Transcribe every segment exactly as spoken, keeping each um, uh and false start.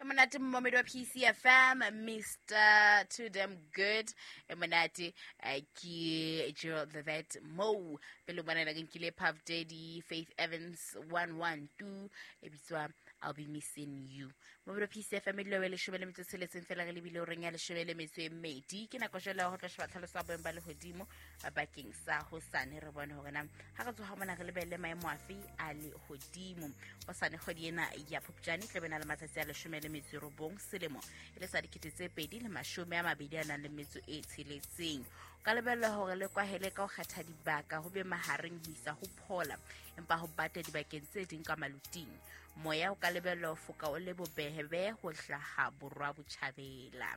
E monate, momamedi wa P C F M, Mister Too Damn Good. E monate, eh, ke Gerald the Vet mo pele bona ke nkile Puff Daddy, Faith Evans, one one two, e bitswa "I'll Be Missing You". Momamedi wa P C F M, e dula leshome le metso e tsheletseng fela re lebile horeng ya leshome le metso e mmedi. Ke nako jwale ya ho tla sheba tlhaloso ya boemo ba lehodimo bakeng sa hosane, re bone hore na ha re tsoha mona re lebelle maemo afe a lehodimo hosane. Kgwedi ena ya Phupjane tla be na le matsatsi a leshome le metso e robong, selemo e le sa dikete tse pedi le mashome a mabedi a nang le metso e tsheletseng. O ka lebella hore le kwahele ka ho kgetha dibaka, ho be mahareng ho isa ho phola, empa ho bata dibakeng tse ding ka maluting. Moya o ka lebellwa ho foka o le bobebe ho hlaha borwa botjhabela.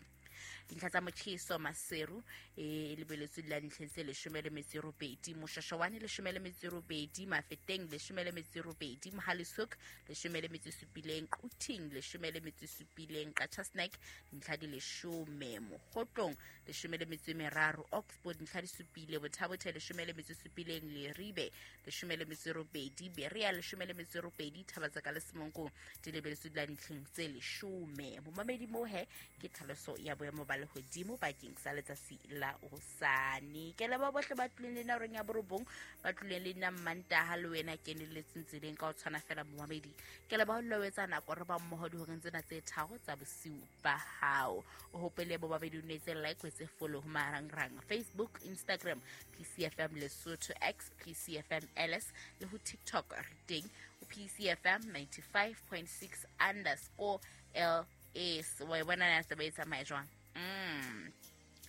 Dintlha tsa motjheso: Maseru e lebeletswe la dintlheng tse leshome le metso e robedi, Moshashawane leshome le metso e robedi, Mafeteng leshome le metso e robedi, Mohale's Hoek leshome le metso e supileng, Quthing leshome le metso e supileng, Qacha's Nek dintlha di leshome, Mokhotlong leshome le metso e meraro, Oxford dintlha di supile, Botha-Bothe leshome le metso e supileng, Leribe leshome le metso e robedi, Berea leshome le metso e robedi, Thaba-Tseka le Semonkong di lebeletswe di la dintlheng tse leshome. Momamedi, moo he ke tlhaloso ya boemo ba lehodimo bakeng sa letsatsi la hosane. Ke leba bohle ba tlileng le nna horeng ya borobong, ba tlileng le nna Mmantaha, le wena keneletseng tseleng ka ho tshwana fela. Momamedi, ke leba ho dula o etsa nako re ba mmoho dihoreng tsena tse tharo tsa bosiu ba hao. O hopele, momamedi, o netse like, o etse follow ho marangrang: Facebook, Instagram, P C F M Lesotho, X, P C F M L S, le ho TikTok re teng ho P C F M ninety-five point six underscore L S. Wa e bona na taba e tsamaya jwang? mm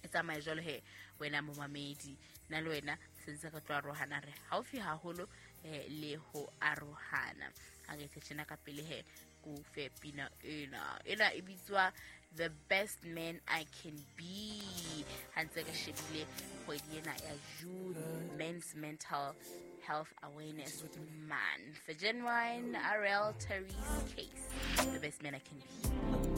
e tsamaya jwalo he, wena momamedi. Nna le wena sentse re tlo arohana, re haufi haholo eh, le ho arohana. Ha re etse tjena ka pele he, ko fe pina ena. Ena e bitswa "The Best Man I Can Be". Ha ntse re shebile kgwedi ena ya June, Men's Mental Health Awareness Month, for Ginuwine, R L, Therese Case, "The Best Man I Can Be".